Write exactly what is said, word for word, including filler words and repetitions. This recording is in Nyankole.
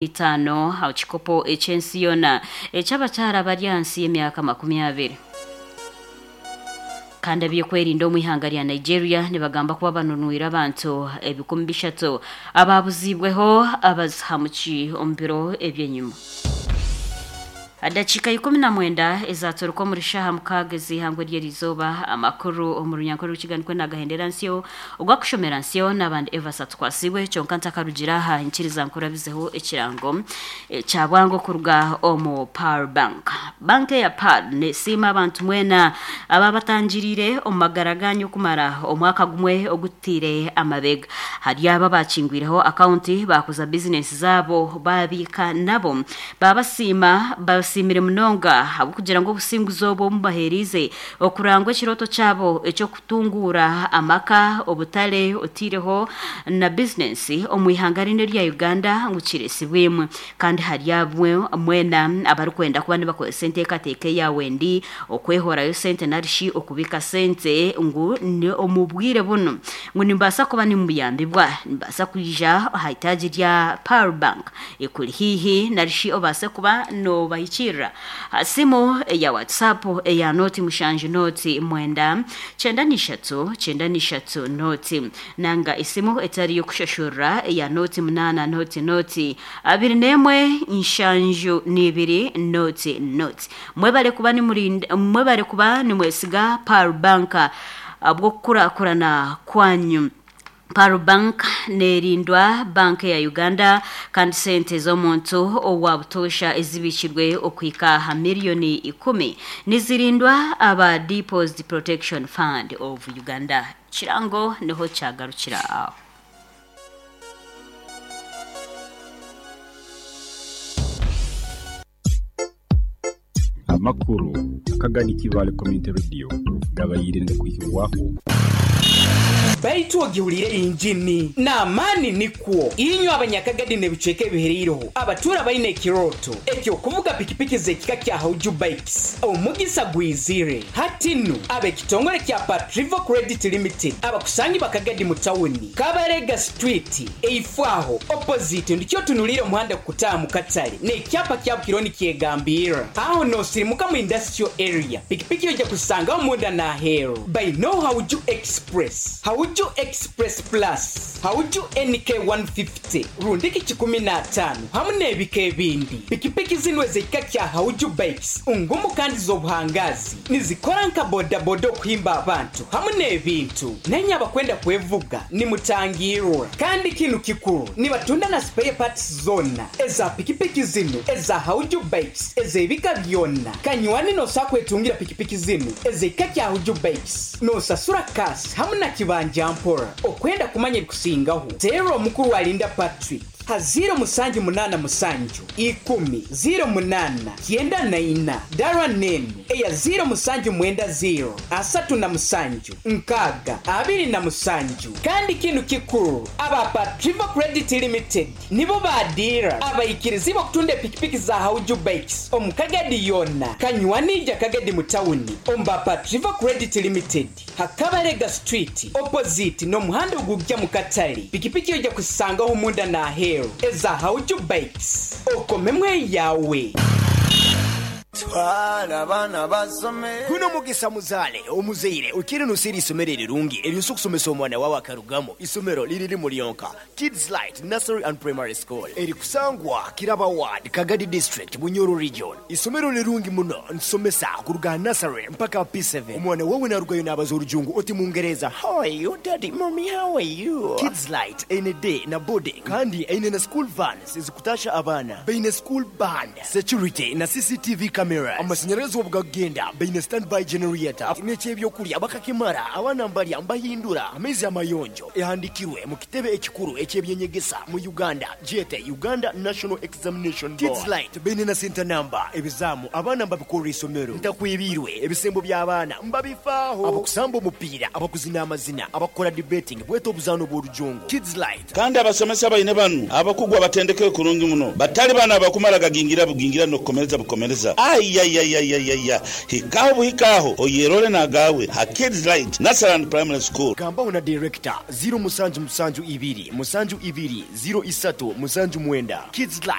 Itaano aho kikopo eky'ensi yoona eky'abakyara bari ahansi y'emyaka makumi abiri. Kandi abyokwerinda omu ihanga rya Nigeria nibagamba kuba banunwire abantu ebikumi bishatu ababuziibweho abazihamuki omu biro ebyenyima. Dakiika ikumi na mwenda ezaturuka omuri shaaha mukaaga ez'ihangwe ry'erizooba amakuru omu runyankore rw'ekiganikwe nagahendera nsyo ogwakushomera nsyo n'abandi Evas atukwasibwe kyonka ntakarugira aha nkiriza nkurabizeho ekirango kya bwangu okuruga omu Pearl Bank. Banka eya Pearl nesiima abantu mwena ababatangiriire omu magara ganyu okumara omwaka gumwe ogutiire amabega. Hari abo abakingwireho akaunti bakuza bizinesi zaabo babiika nabo babasiima basiimire munonga ahabw'okugira ngu obusinguzi obwo omubaheerize okurangwa ekirooto kyabo eky'okutunguura amaka obutare otiireho na bizinesi omu ihanga rinu erya Uganda ngu kiresibwemu. Kandi hari abwe mwena abarikwenda kuba nibakozesa enteekateeka eyawe ndi okwehorayo sente narishi okubiika sente ngu ni omu bwire bunu ngu nimbaasa kuba nimuyambibwa nimbaasa kwija aha itaagi rya Pearl Bank ekuri haihi narishi obaase kuba noobahikirira aha simu eya WhatsApp eya nooti mushanju nooti mwenda kyenda n'ishatu kyenda n'ishatu nooti nanga esimu etari y'okushashurira eya nooti munaana nooti nooti abiri n'emwe nshanju n'ibiri nooti nooti. Mwebare kuba nimurinda mwebare kuba nimwesiga Pearl Bank ahabw'okukurakurana kwanyu. Pearl Bank nerindwa banka ya Uganda kandi sente z'omuntu owa butoosha ezibikirwe okuhika aha miliyoni ikumi nizirindwa aba Deposit Protection Fund of Uganda. Kirango niho kyagarukira aho. Amakuru akagani Kibale Community Radio gabayire kuhibwaho. Baitu ogiwulire injini n'amaani nikwo inywe abanyakagadi n'ebicweka ebihereireho abatura baine ekirooto ekyokuvuga pikipiki z'ekika kya Hauju Bikes omugisa gwizire hati nu ab'ekitongole kya Patrivo Credit Limited abakusangi bakagadi mu tawuni Kabarega Street eifwaho opposite ndikyo tunulire omuhanda kukutaaha mu katale n'ekyapa kya Bukironi kyegambirra aho noosirimuka mu industrial area pikipiki ojja kusangaho munda n'aheeru baino Hauju Express Hauju Express Plus, Hauju N K one fifty, rundiki kikumi n'ataano hamu n'ebika ebindi. Pikipiki zinu ez'ekika kya Hauju Bikes ngumu kandi z'obuhangazi nizikora nka bodaboda okuhimba abantu hamu n'ebintu. Nenye abakwenda kwevuga nimutangirwa kandi kinu kikuru nibatunda na spare parts zonna eza pikipiki zinu eza Hauju Bikes ez'ebika byonna. Kanywani nosa kwetungira pikipiki zinu ez'ekika kya Hauju Bikes nosasura kasi hamu na kibanja mpora. Okwenda kumanya ebikusingaho teera omukuru alinda Patrick ha ziro musanju munaana musanju ikumi ziro munaana kyenda na ina dara nenu eya ziro musanju mwenda ziro asatu na musanju nkaaga abiri na musanju. Kandi kinu kikuru aba Patrivo Credit Limited nibo badira abayikirizi b'okutunda epikipiki za Hauju Bikes omu Kagadi yonna. Kanywanija Kagadi mu tawuni omba Patrivo Credit Limited hakabarega Street opposite n'omuhanda ogujja mu katale pikipiki ojja kusangaho munda n'aheeru eza Hauju Bikes okomemwe yawe. Twala abaana basome. Guno mugisa muzaale omuzaire okiri nosira isomero erirungi eryosa okusomesa omwana wawe akarugamo isomero liriri mulyonka Kids Light Nursery and Primary School erikusangwa Kiraba Ward, Kagadi District, Bunyoro Region. Isomero lirungi muno nsomesa kuruga nursery mpaka P seven. Omwana wawe narugayo nabaza orujungu oti mungereza, "How are you, daddy? Mommy, how are you?" Kids Light eine day na boarding kandi eine na school vans ezikutasha abaana baine school band, security na C C T V cameras. Amashanyarazi obugagenda baine standby generator n'ekyebyokurya bakakimara abaana mbalya mbahindura amaizi amayonjo. Ehandikirwe mu kitebe ekikuru ekyebyenyegesa mu Uganda gyete Uganda National Examination Board. Kids Light baine na center number ebizamu abaana mbabikorera isomero ntakwibirwe ebisembo by'abaana mbabifaaho abakusamba omupiira abakuzina amazina abakora debating bweta obuzaano bw'orujungu Kids Light. Kandi abasomesa baine banu abakugu abatendekere kurungi muno batali bana abakumara gagingira bugingira nokukomereza bukomereza. Ayayayayaya, hikaho buhikaho oyerole nagawe ha Kids Light Nursery and Primary School. Gambaho na director ziro musanju musanju ibiri musanju ibiri ziro isatu musanju mwenda. Kids Light.